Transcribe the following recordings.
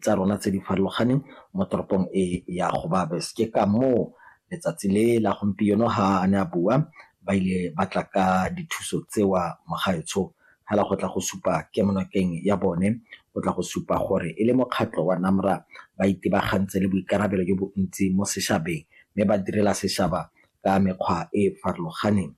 Tsa rona tse di farologaneng mo toropong e ya Gobabis. Ke ka moo letsatsi le la gompieno ha a ne a bua ba ile ba tla ka dithuso tseo mogaetsho fela go tla go supa kemonokeng ya bone, go tla go supa gore e le mokgatlho wa NAMRA ba itebagantse le boikarabelo jo bontsi mo sešwabeng, mme ba direla sešwaba ka mekgwa e e farologaneng.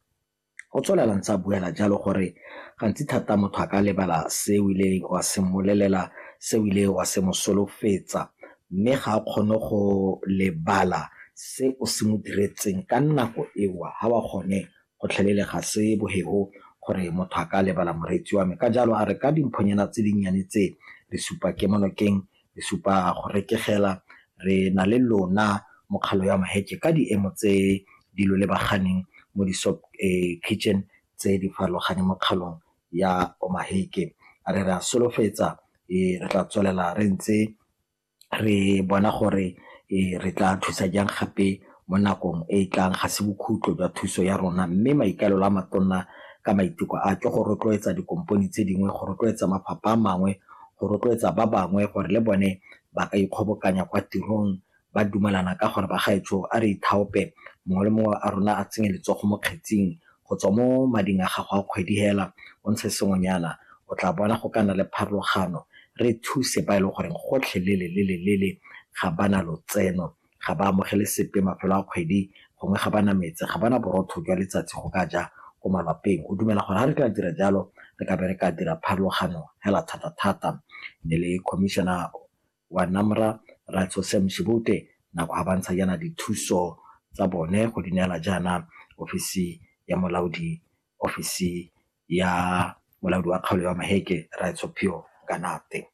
O tswelela ntse a buela jalo gore gantsi thata motho a ka lebala se o ileng wa se mmolelela, se o ile wa se mo solofetsa, mme ga a kgone go lebala se o se mo diretseng ka nako eo ha wa gone gotlhelele ga se boheo gore motho a ka lebala moreetsi wa me. Ka jalo a re ka dimphonyana tse dinnyane tse re supa kemonokeng, re supa go rekegela, re na le lona mokgalo ya Maheke ka diemo tse di lo lebaganeng mo di-soup kitchen tse di farologaneng mo kgaolong ya Omaheke. A re re a solofetsa re tla tswelela re ntse re bona gore re tla thusa jang gape mo nakong e e tlang, ga se bokhutlo jwa thuso ya rona, mme maikaelelo a matona ka maiteko a ke go rotloetsa dikompone tse dingwe, go rotloetsa mafapha a mangwe, go rotloetsa ba bangwe gore le bone ba ka ikgobokanya kwa tirong ba dumelana ka gore bagaetsho a re ithaope mongwe le mongwe a rona a tsenye letsogo mo kgetsing go tswa mo mading a gago a kgwedi hela o ntshe sengwenyana o tla bona go ka nna le pharologano re thuse ba e leng gore gotlhelele lele lele ga ba na lotseno, ga ba amogele sepe mafelo a kgwedi, gongwe ga ba na metsi, ga ba na borotho jwa letsatsi go ka ja ko malapeng. O dumela gore ga re ka dira jalo re ka be re ka dira pharologano hela thata-thata. Ne le commissioner wa NAMRA Ratsho Sam Shibute nako ga ba ntsha jaana dithuso tsa bone go di neela jaana ofisi ya molaodi, ofisi ya molaodi wa kgaolo ya Maheke Ratsho Phio Nganate.